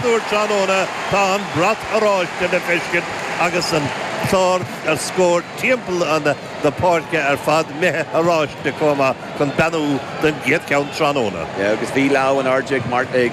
gcéad uair tráthnóna tá an brat oráiste le feiscint agus an clár scóir timpeall na páirce ar fad imithe oráiste chomh maith chun beannú don gcéad cheann tráthnóna. Yeah agus bhí lámh in airde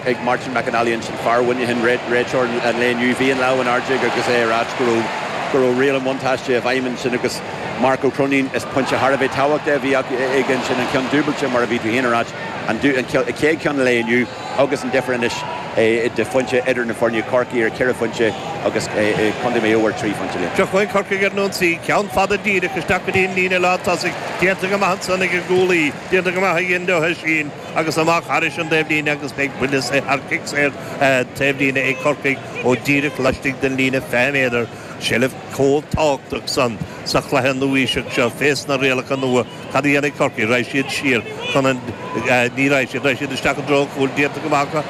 ag Martin McAnally ansin, fear Mhuineacháin, réiteoir an lae inniu, bhí an lámh in airde aige agus é ag ráit go raibh go raibh riail an bhuntáiste i bhfeidhm ansin agus Marc Ó Cróinín, is pointe thar a bheith tábhachtach a bhí aige ansin, an ceann dúbailte mar a bhí tú féin ag ráit, an chéad cheann an lae inniu agus an difear anois de phointe idir na foirne, Corcaigh ar cheithre phointe agus Contae Mhaigh Eo ar thrí phointe. Seo chugainn Corcaigh ar an ionsaí, ceann fada díreach isteach go dtí an líne lántosaigh, déanta go maith ansan ag an gcúlaí, déanta go maith ag Enda Ó hOisín agus amach thairis an dtaobhlíne agus beidh buille saor, cic saor taobhlíne ag Corcaigh ó díreach laistigh den líne 20 méadar. Seilbh chomh tábhachtach san sa chluiche nua-aoiseach seo fés na rialacha nua. Cad a dhéanfaidh Corcaigh? Raghaidh siad siar chun an, ní raghaidh siad, raghaidh siad isteach i dtreo an chúil, déanta go maith acu,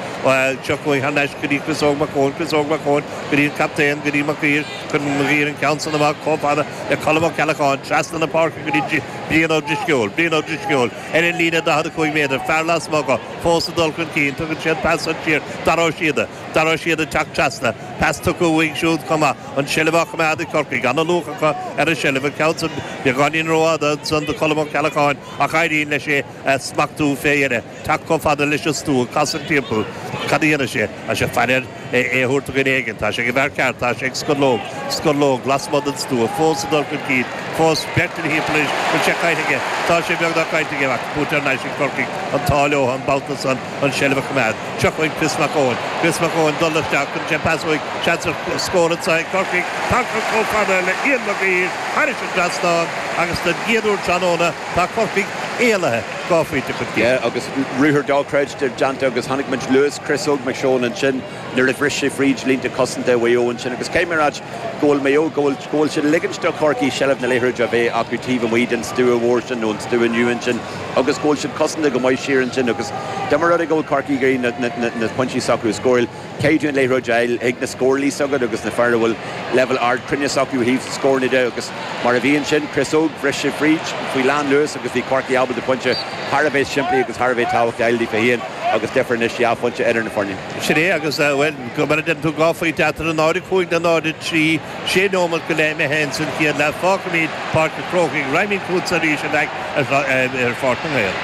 seo chugainn thar n-ais go dtí Chris Óg Mac Eoin, Chris Óg Mac Eoin go dtí an captaen, go dtí Mac Uidhir, cuireann Mac Uidhir an ceann san amach chomh fada le Colm Ó Ceallacháin, trasna na páirce go dtí Brian Ó Drisceoil, Brian Ó Drisceoil ar an líne 45 méadar, fear lasmuigh acu, fós ag dul chun cinn, tugann sé an pas san siar, Dara Ó Síoda. Dara Ó Síoda ag teacht trasna. Pas tugtha uaidh siúd chomh maith. An tseilbh á choimeád ag Corcaigh. Ana-luach acu ar an seilbh. An ceann san beagáinín rófhada ansan do Cholm Ó Ceallacháin ach éiríonn leis é a smachtú fé dheireadh. Teacht chomh fada leis an stua. Casadh timpeall. Cad a dhéanfaidh sé? Tá sé ag faire air é a thabhairt do dhuine éigin. Tá sé ag an bhfear ceart. Tá sé ag Scorlóg. Scorlóg lasmuigh den stua. Fós ag dul chun cinn. Fós beirt ina thimpeall anois. Bhfuil sé caillte aige? Tá sé beagnach caillte aige ach buaite thar n-ais ag Corcaigh. An t-ádh leo an babhta san. an tseilbh a choimeád. Seo chugainn Chris Mac Eoin. Chris Mac Eoin dul isteach, cuireann sé pas uaidh, seans ar scór anseo ag Corcaigh. Tagtha chomh fada le Ian Mag Uidhir thairis an dtrasnán agus don gcéad uair tráthnóna tá Corcaigh éalaithe dhá phointe chun cinn. Yeah agus ruathar dochreidte déanta agus chonaic muid luas Chris Óg Mac Seoin ansin nuair a bhris sé fríd línte cosanta Mhaigh Eo ansin agus caithfidh mé a ráit go bhfuil Maigh Eo, go bhfuil, go bhfuil siad ag ligint do Chorcaigh seilbh na liathróide a bheith acu taobh amuigh den stua mhór sin nó an stua nua ansin agus go bhfuil siad cosanta go maith siar ansin agus dá mba rud é go bhfuil Corcaigh ag iarraidh na, na, na pointí s'acu a scóráil, caithfidh tú an liathróid a fháil chuig na scórálaithe s'agat agus na fear a bhfuil leibhéal ard cruinneas acu ó thaobh scóranna de agus mar a bhí ansin, Chris Óg, bhris sé fríd faoi lán luas agus bhí Corcaigh ábalta pointe thar a bheith simplí agus thar a bheith tábhachtach a fháil daofa féin agus difear anois dhá phointe idir na foirne. Sin é agus, bhuel, mar a deireann tú, dhá phointe eatarthu, 0-5 le 0-3, sé nóiméad go leith imithe ins an chéad leath. Fágfaimid Páirc an Chrócaigh, raghaimid chugatsa arís, a Mheaic, ar Pháirc na nGael.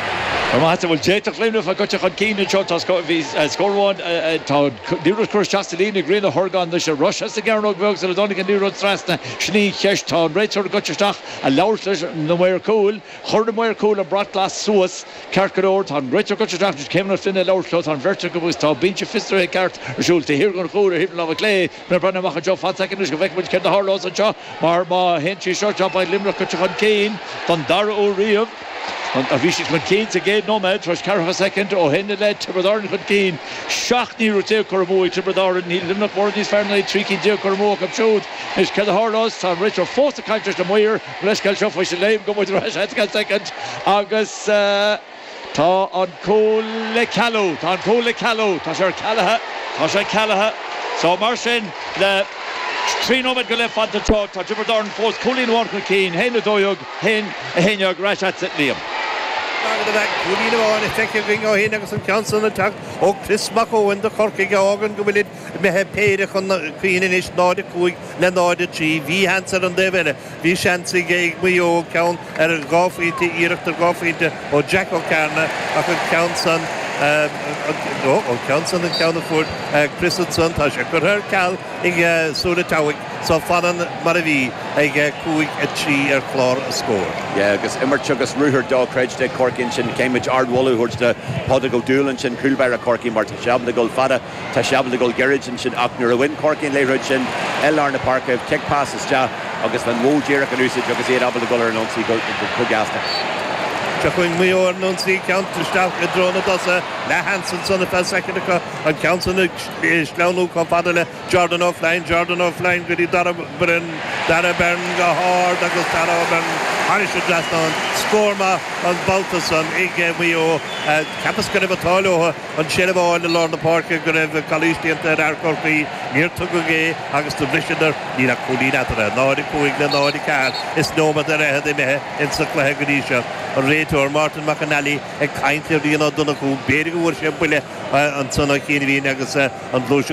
Go raibh maith agat. Bhuel, d'fhéadfadh Luimneach a bheith gaibhte chun cinn anseo. Tá bhí scór amháin, tá liathróid curtha isteach sa líne ag Rian Ó hOrgáin anois. An raibh sé sa gcearnóg bheag sula dtáinig an liathróid trasna. Sin í an cheist. Tá an réiteoir gaibhte isteach a labhairt leis na maoir cúil. Chuir na maoir cúil an brat glas suas. Ceart go leor, tá an réiteoir gaibhte isteach anois, Céimeann Ó Floinn ag labhairt leo, tá an bheirt acu agus tá binse fiosraithe ceart ar siúl taobh thiar den chúl ar thaobh na láimhe clé. Ná breathnaigh amach anseo fan soicind anois go bhfeicfidh muid céard a tharlós anseo mar má théann sí seo anseo beidh Luimneach gaibhte chun cinn don dara huair riamh. Bhí siad chun cinn sa gcéad nóiméad tar éis ceathracha soicind ó shin i leith Tiobraid Árann chun cinn. 17 n-iarracht curtha amú ag Tiobraid Árann. Níl Luimneach mórán níos fearr ná iad, 13 cinn curtha amú acu siúd. Anois céard a tharlós? Tá an réiteoir fós ag caint leis na maoir. Leithscéal seo faoi sin léim go muid ar ais ceann soicind agus tá an cúl le cealú, tá an cúl le cealú, tá sé cealaithe, tá sé cealaithe. So mar sin le 3 nóiméad go leith fanta anseo tá Tiobraid Árann fós cúilín amháin chun cinn, 1, 12, 1, 11 ar ais agatsa Liam. Cúilín amháin feicthe againn ó shin agus an ceann san ag teacht ó Chris Mac Eoin do Chorcaigh a fhágann go bhfuilid imithe péire chun cinn anois, 0, 5 le 0, 3. Bhí seans ar an dtaobh eile. Bhí seans ag Maigh Eo ceann ar dhá phointe, iarracht ar dhá phointe ó Jack Ó Cearna ach an ceann san, an ceann san an ceann a fuair Chris ansan, tá sé curtha ar ceal ag Súile Teamhaigh so fanann mar a bhí ag 5, 3 ar chlár an scóir. Yeah agus imirt agus ruathar dochreidte ag Corcaigh ansin. Caithfidh muid ardmholadh a thabhairt do Phádraig Ó Dúill ansin, cúl báire Chorcaí mar tá sé ábalta dul fada. Tá sé ábalta dul gairid ansin ach nuair a bhain Corcaigh an liathróid sin i lár na páirce, cic pas isteach agus an modh díreach in úsáid agus iad ábalta dul ar an ionsaí go gasta. Seo chugainn Maigh Eo ar an ionsaí, ceann isteach i dtreo na dtosaithe, leathsheans ansan ar feadh soicind acu, an ceann san ag sleamhnú chomh fada le Jordan O'Flynn, Jordan O'Flynn go dtí Dara Byrne, Dara Byrne go hard agus Dara Byrne thairis an dtrasnán. Scór maith an babhta san ag Maigh Eo. Cheapas go raibh an t-ádh leo. An tseilbh a fháil i lár na páirce go raibh calaois déanta ar fhear Chorcaí, níor tugadh é agus do bhriseadar, níl ach cúilín eatarthu, 0-5 le 0-4 is nóiméad ar fhichead imithe insa chluiche go dtí seo. An réiteoir, Martin McAnally, ag caint le Rian Ó Donnchú, b'fhéidir go bhfuair sé buille ansan ó chianaibhín agus an ghluaiseacht.